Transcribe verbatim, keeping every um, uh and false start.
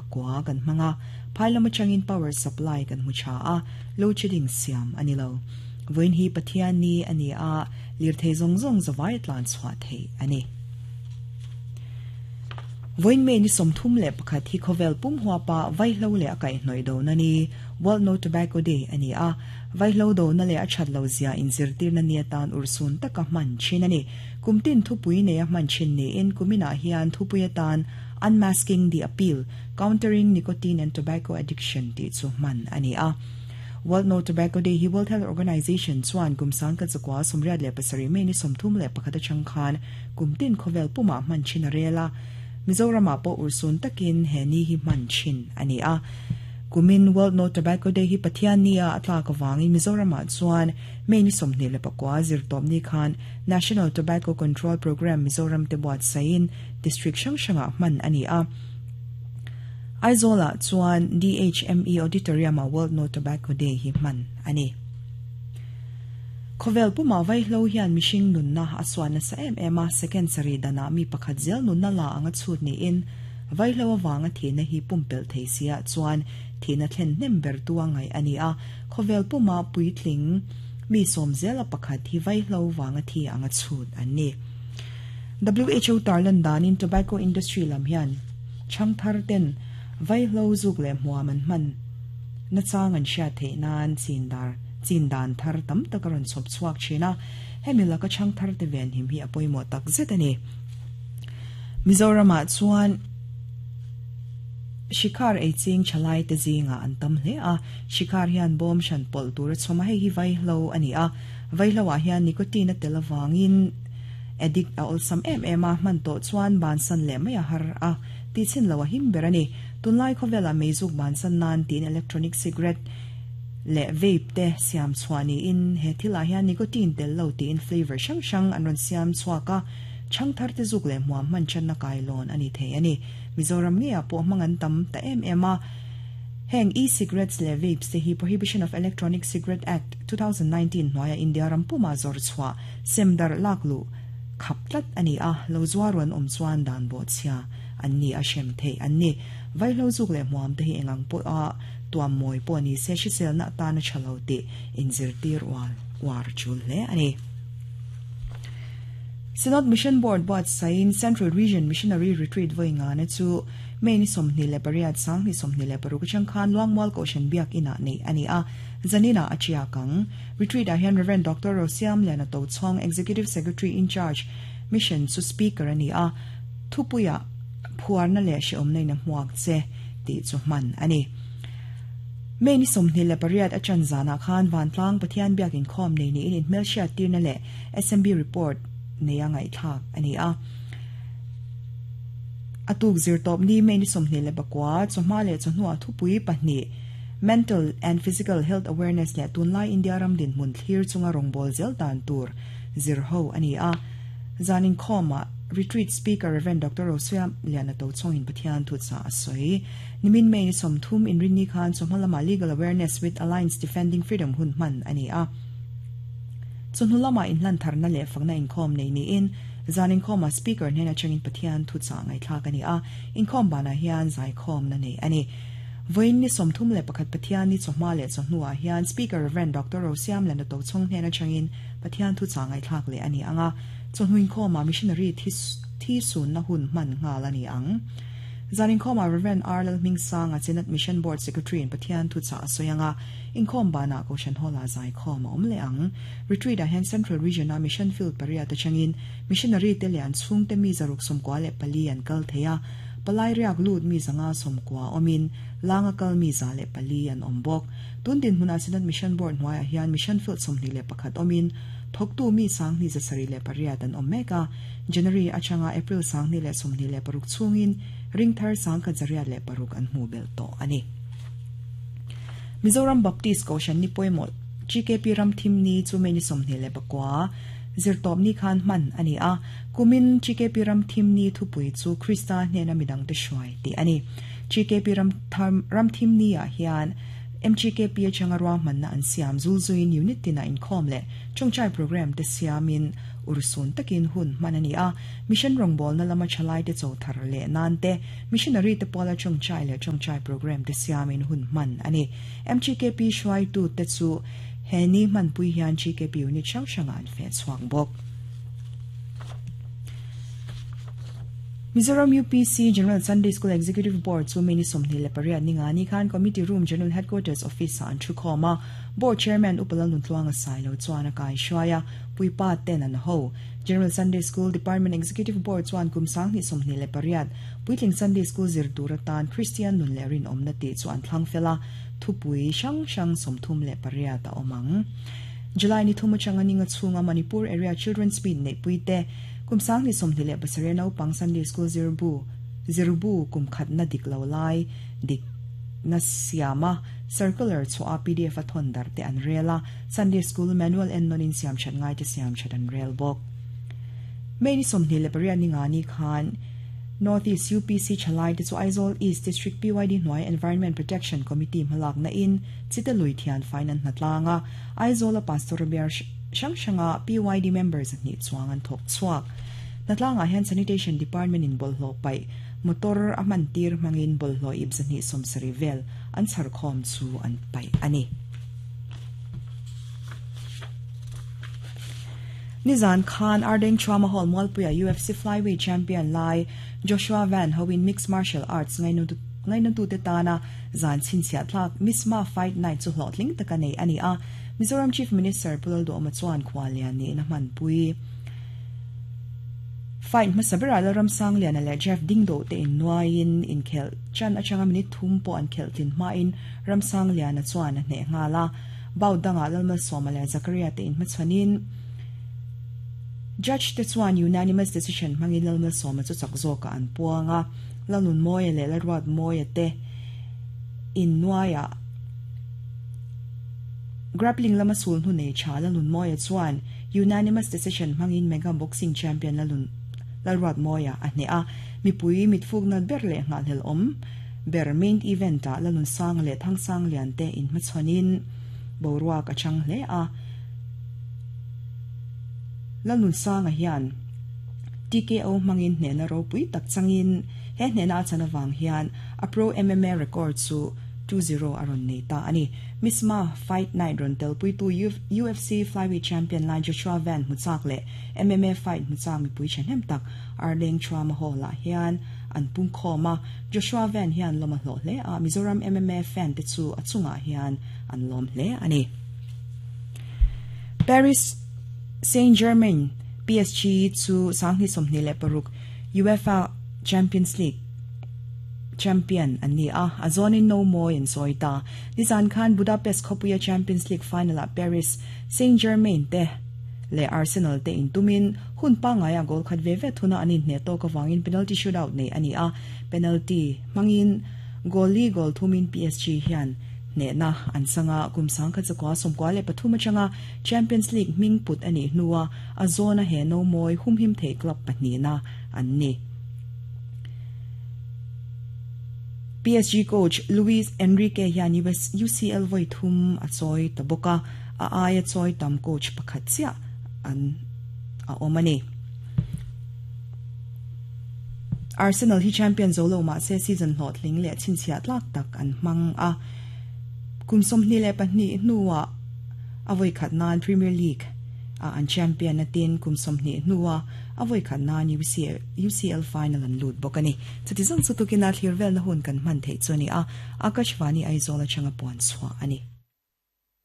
pakua kan hmanga phailam atangin power supply kan hmu tha a load shedding siam ani lo voin hi Pathian ni ani a lirthei zawng zawng zawai tlan chhuah thei ani. Voin me ni somthum le pakhat hi khovel pum huwa pa vaihlo le akai hnoi do na ni World No Tobacco Day ani a vaihlo do na le a that lo zia in zirtir na ni atan ursun taka man chin ani kumtin thupui ne a man chin ni in kumina hian thupui atan Unmasking the Appeal Countering Nicotine and Tobacco Addiction ti chu man ani a. World No Tobacco Day hi World Health Organization chuan kumsang ka chakwa somriat le pasari me ni somthum le pakhat changkhan kumtin khovel puma man chin rela Mizoram po ursun takin he ni hi man chin ani a. Kumin World No Tobacco Day hi Pathian nia atla ka wangin Mizoram chuan me ni somni le pakwa zirtawp ni khan National Tobacco Control Program Mizoram te buat sain district hrang hranga man ani a. Aizola chuan D H M E Auditorium a World No Tobacco Day hi man ani. Khovel puma vaihlo hian mishing nunna aswana sa em ema second sari dana mi pakhat zel nunna la anga chut ni in vaihlo awanga thina hi pumpel theisia chuan thina thlen nem ber tuangai ani a. Khovel puma puitling mi som zel a pakhat hi vaihlo wanga thi anga chut ani. W H O tarlan danin tobacco industry lam hian changthar ten vaihlo zuk le hmuaman man na chang an sha the nan chindar chindan thar tam takaron chop chuak china hemila ka chang thar te ven him hi apoimo tak zet ani. Mizoram chuan shikhar ei ching chalai te zinga an tam hle a shikhar hian bom shan pol tur choma hei hi vaihlo ani a vaihlo a hian nicotine a telawangin addict a olsam em em a man to chuan ban san le mai a har a ti chin lo a him ber ani. Tunlai khawvela meizuk ban san nan tin electronic cigarette le vape te siam chuani in he thila hian nicotine tel lo ti in flavor hrang hrang an rawn siam chhuaka changthar te zuk le hmuam man chan na kai lawn ani thei ani. Mizoram nge a pawh hmang an tam ta em em a heng e-cigarettes le vapes te hi Prohibition of Electronic Cigarette Act twenty nineteen hnuaia India rampuma zawr chhuah semdar laklu khap tlat ani a lo zuaruan awm chuan dan bo chhia an ni a hrem thei an ni. Vaihlo zuk le hmuam te hi engang pawh a tuam mawi pawh ni se hrisel na tan a thalo ti inzirtir wal war chul hle ani. Synod Mission Board buat sain Central Region Missionary Retreat voinga na chu me ni somni le pariat sang ni somni le paruk changkhan luangmual ko shan biak ina nei ani a zanina achia kang retreat a hian Reverend Doctor Rosiam Lena To Chong Executive Secretary in Charge Mission su speaker ani a thupuya phuarna le she omnei na hmuak che ti chu man ani. Me ni somni le pariat achan zana khan wantlang Pathian biak in khom nei ni in hmelhriat tirna le S M B report neya ngai thak ani a. Atuk zir top ni me ni somni le bakwa choma le chhnua thupui pahni mental and physical health awareness le tunlai India ram din mun thlir chunga rongbol zel dan tur zir ho ani a. Zanin khoma retreat speaker Reverend Doctor Rosiam Liana To Chongin Pathian thu cha asoi nimin me ni somthum in rinni khan chomhalama legal awareness with Alliance Defending Freedom hun man ani a. Chunhulama in hlan tharna le fakna in khom nei ni in zanin khoma speaker hna changin Pathian thu cha ngai thlak ani a in khom bana hian zai khom na nei ani. Voin ni somthum le pakhat Pathian ni choma le chhnua hian speaker Reverend Doctor Rosiam Lena To Chong hna changin Pathian thu cha ngai thlak le ani anga chhnuin khoma missionary thi thi sun na hun man nga la ni ang. Zanin khoma Reverend R L Ming Sang a Synod Mission Board Secretary in Pathian thu cha soyanga in khom bana ko shan hola zai khom om le ang retreat a hen Central Region a mission field paria ta changin missionary te lian chung te mi zaruk som kwa le pali an kal theya palai riak lut mi zanga som kwa omin langa kal mi za le pali an ombok tundin huna Synod Mission Board hnuaia hian mission field somni le pakhat omin thoktu mi sang ni zasari le pariat an omeka January achanga April sang ni le somni le paruk chungin ringthar sang ka zaria le paruk an hmu bel to ani. Mizoram Baptist ko shan ni poimo G K P ram thim ni chu me ni somni le pakwa zirtawp ni khan man ani a kumin G K P ram thim ni thupui chu Krista hnena midang te hruai ti ani. G K P ram tham ram thim ni a hian M G K P changarwa manna an siam zulzuin unit tina in khom le chongchai program te siamin ursun takin hun manani a mission rongbol na lama chalai te chothar le nan te missionary te pola chongchai le chongchai program te siamin hun man ani M G K P shwai tu te chu heni man pui hian G K P unit chang changan fe chuang bok. Mizoram U P C General Sunday School Executive Board chu mini somni le pariat ninga ni khan Committee Room General Headquarters Office an thukhoma Board Chairman Upalal Nuntluanga Sailo chuan kai shwaya puipa ten an ho General Sunday School Department Executive Board chuan kumsang ni somni le pariat puitling Sunday School zir duratan Christian nun le rin omna ti chuan thlangfela thupui sang sang somthum le pariat a omang July ni thuma changa ninga chunga Manipur Area Children's Meet nei puite kumsang ni somni le pasare nau pang Sunday School zirbu zirbu kumkhat na diklo lai dik na siama circular chu a P D F athon dar te an rela Sunday School manual en nonin siam chat ngai te siam chat an rel bok meni somni le paria ni nga ni khan Northeast U P C chalai te chu Aizawl East District P Y D Noi Environment Protection Committee malak na in chitalui thian finance natlanga Aizawl a pastor bear sang sanga P Y D members ni chuang an thok chuak natlanga hian sanitation department in bolhlo pai motor aman tir mangin bolhlo ibzani somsari vel an charkhom chu an pai ani Nizan Khan Ardeng Trauma Hall Mualpuia U F C Flyweight Champion Lai Joshua Van Howin Mixed Martial Arts ngainu tu te tana zan chinchia thlak Misma Fight Night chu hlotling takane ani a Mizoram Chief Minister Pulaldo Amachuan Khwalian ni na man pui fight masabira la Ramsang lian le Jeff Dingdo te in nuain in khel chan achanga minute thum po an khel tin ma in Ramsang lian a chuan ne ngala baudanga lalma somale Zakaria te in machanin Judge te chuan unanimous decision mangin lalma soma chu chakzoka an puanga lalun moya le larwat moya te in nuaya grappling lama sul nu nei cha lalun moya chuan unanimous decision mangin mega boxing champion lalun lalwat moya a hne a mipui mitfuk na ber le ngal hel om ber main event a lalun sang le thang sang lian te in machonin boruak a chang hle a lalun sang a hian T K O mangin hne na ropui tak changin he hne na chana wang hian a pro M M A record chu two zero aron nei ta ani Misma Fight Night ron tel pui tu U F C Flyweight Champion lai Joshua Van muchak le M M A fight muchak mi pui chen tak Arleng Trauma Hall la hian an pung khoma Joshua Van hian loma hlo hle a Mizoram M M A fan te chu achunga hian an lom hle ani Paris Saint-Germain P S G chu sangni somni le paruk UEFA Champions League champion ani a azonin no more in soita Nizan Khan Budapest khopuya Champions League final at Paris Saint-Germain te le Arsenal te in tumin hun pa nga ya goal khat ve ve thuna anin ne to ka wangin penalty shootout nei ani a penalty mangin goal goal thumin P S G hian ne na an sanga kumsang kha chakwa somkwa le pathuma changa Champions League ming put ani nuwa azona he no moi humhim the club pahni na an ni P S G coach Luis Enrique hian U C L voi thum a choi taboka a ai choi tam coach pakhat chia an a omani Arsenal hi champion zolo ma se season hlot ling le chinchia tlak tak an mang a kumsom ni le pahni nuwa avoi khat nan Premier League a an champion na tin kumsom ni nuwa avoi khat nan U C L final an lut bokani chuti zong chu tukina thirvel na hun kan man thei chuni a Akashvani Aizawl changa pon chwa ani.